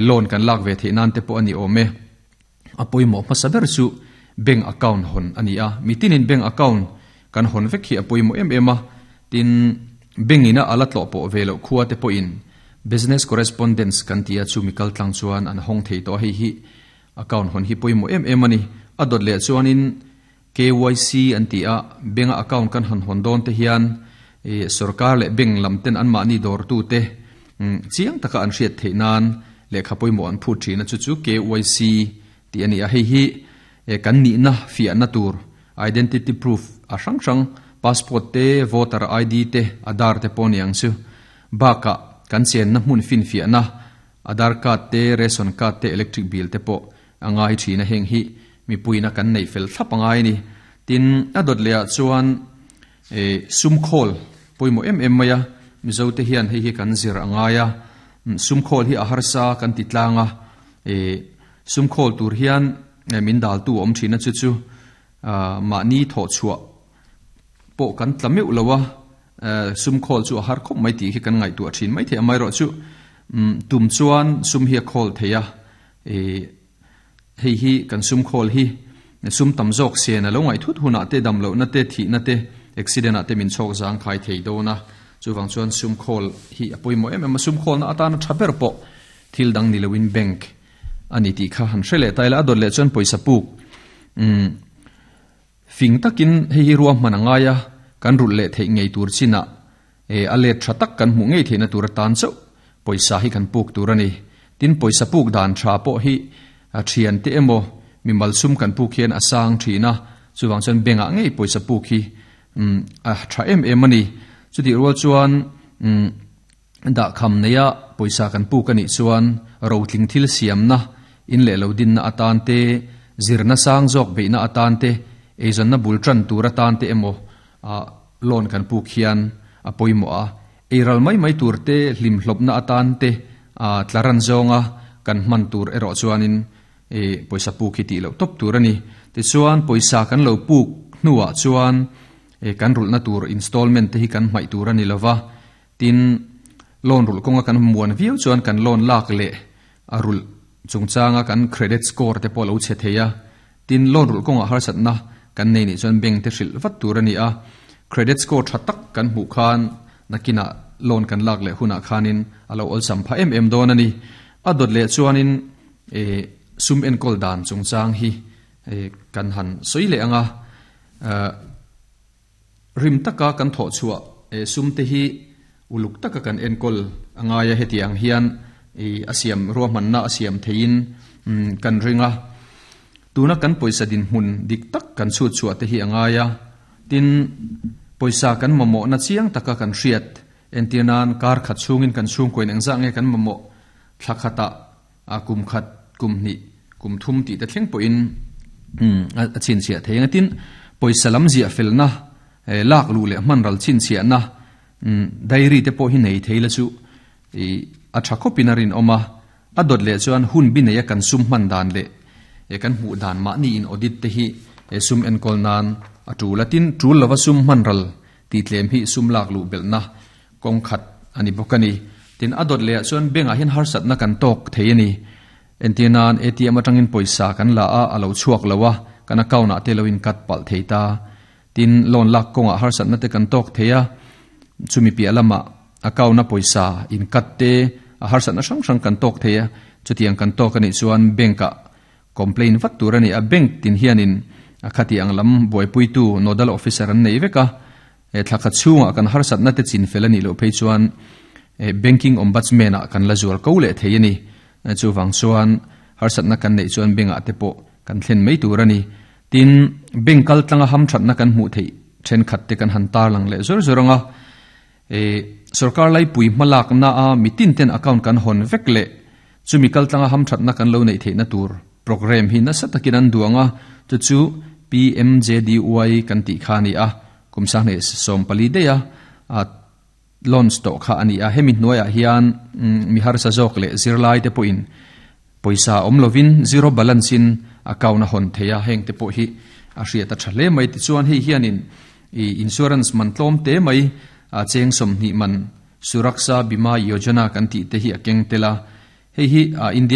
Loan kan lak ve theih nan te pawh a ni awm e. A pawimawh hmasa ber chu bank account hawn a ni a, mitinin bank account kan hawn vek hi a pawimawh em em a, tin bank ina a la tlawh pawh ve loh khua te pawhin business correspondence kan ti a chu mi kal tlang chuan an hawng thei tawh a, hei hi account hawn hi pawimawh em em a ni. A dawt leh chuanin KYC an ti a, bank a account kan han hawn dawn te hian sorkar leh bank lam ten anmahni dawrtute chiang taka an hriat theih nan lehkha pawimawh an phut thin a, chu chu KYC tih a ni a, hei hi kan nihna fiahna tur identity proof a hrang hrang passport te, voter ID te, Aadhaar te pawh a ni ang chu. Bakah kan chenna hmun finfiahna Aadhaar card te, ration card te, electric bill te pawh a ngai thin a, heng hi mipuiina kan neih fel thlap a ngai a ni. Tin, a dawt lehah chuan sum khawl pawimawh em em mai a, Mizote hian hei hi kan zir a ngai a, sum khawl hi a harsa kan ti tlang a, sum khawl tur hian min daltu a awm thin a, chu chu mahni thawhchhuah pawh kan tla meuh lo a, sum khawl chu a har khawp mai tih hi kan ngaihtuah thin maithei a, amaherawhchu tum chuan sum hi a khawl thei a, Hei hi kan sum khawl hi sum tam zawk sen a lo ngaih thut hunah te dam lohna te thihna te accident ah te min chhawk zang khai thei dawn a, chuvang chuan sum khawl hi a pawimawh em em a, sum khawlna atana tha ber pawh thil dang ni loin bank a ni tih kha han hre leh ta ila, a dawt leh chuan pawisa puk umm fing takin hei hi ruahman a ngai a, kan rulh leh theih ngei tur chinah a let tha tak kan hmuh ngei theihna tur atan chauh pawisa hi kan puk tur a ni. Tin, pawisa puk dan tha pawh hi thiante emaw mimal sum kan puk hian a sang thin a, chuvang chuan bank ah ngei pawisa puk hi a tha em em a ni. Chutih rual chuan dahkham neia pawisa kan puk a nih chuan rotling thil siamna, in leh lo dinna atan te, zirna sang zawk beihna atan te, eizawnna bul tan tur atan te emaw Loan kan puk hian a pawimawh a, eiral mai mai tur te, hlimhlawpna atan te tla ran zawnga kan hman tur erawh chuanin pawisa puk hi tih loh tawp tur a ni. Tichuan pawisa kan lo puk hnuah chuan kan rulhna tur installment te hi kan hmaih tur a ni lova, tin loan rulh kawnga kan muan viau chuan kan loan lak leh a rulh chungchanga kan credit score te pawh a lo chhe thei a, Tin, loan rulh kawngah harsatna kan nei nih chuan bank te hrilh vat tur a ni a, credit score tha tak kan hmuh khan nakinah loan kan lak leh hunah khanin a lo awlsam phah em em dawn a ni. A dawt leh chuanin sum enkawl dan chungchang hi kan han sawi leh ang a, rim taka kan thawh chhuah sum te hi uluk taka kan enkawl a ngai a, heti ang hian a siam ruahmanna a siam theiin kan ring a, tuna kan pawisa dinhmun dik tak kan chhut chhuah te hi a ngai a, tin pawisa kan mamawhna chiang taka kan hriat entir nan kar khat chhungin kan chhungkuain engzah nge kan mamawh thla khatah a kum khat, kum hnih, kum thum tih te thleng pawhin a chhinchhiah thei ang a. Tin, pawisa lam ziah felna, lak luh leh hman ral chhinchhiahna diary te pawh hi nei thei la chu a tha khawpin a rinawm a. A dawt leh chuan hun bi neia kan sum hman dan leh kan hmuh dan mahni in audit te hi sum enkawl nan a tul a. Tin, tul lova sum hman ral tih tlem hi sum lak luh belhna Kawng khat a ni bawk a ni. Tin, a dawt lehah chuan bank ah hian harsatna kan tawk thei a ni. Entir nan ATM atangin pawisa kan la a, a lo chhuak lo a, kan account ah te lo in cut palh thei ta. Tin, loan lak kawngah harsatna te kan tawk thei a, chumi piah lamah account a pawisa in cut te, a harsatna hrang hrang kan tawk thei a, chutiang kan tawk a nih chuan bank ah complain vat tur a ni a. Bank tin hianin a khati ang lam buaipuitu nodal officer an nei vek a, He thla khat chhungah kan harsatna te chin fel a nih loh phei chuan Banking Ombudsman ah kan la zual ko leh thei a ni. Chuvang chuan harsatna kan neih chuan bank ah te pawh kan thlen mai tur a ni. Tin, bank kal tlanga hamthatna kan hmuh theih thenkhat te kan han tarlang leh zawr zawr ang a. Sorkar laipui hmalakna a mitin ten account kan hawn vek leh chumi kal tlanga hamthatna kan lo neih theihna tur Programme hi nasa takin an duang a, chu chu PMJDY kan tih kha a ni a, kum sanghnih 14 daih a launch tawh kha a ni a. Hemi hnuaiah hian mi harsa zawk leh zirlai te pawhin pawisa awm lovin zero balance in account a hawn thei a, heng te pawh hi a hriat a tha hle mai. Tichuan hei hianin insurance man tlawm te mai cheng 20 man Suraksha Bima Yojana kan tih te hi a keng tel a, hei hi India.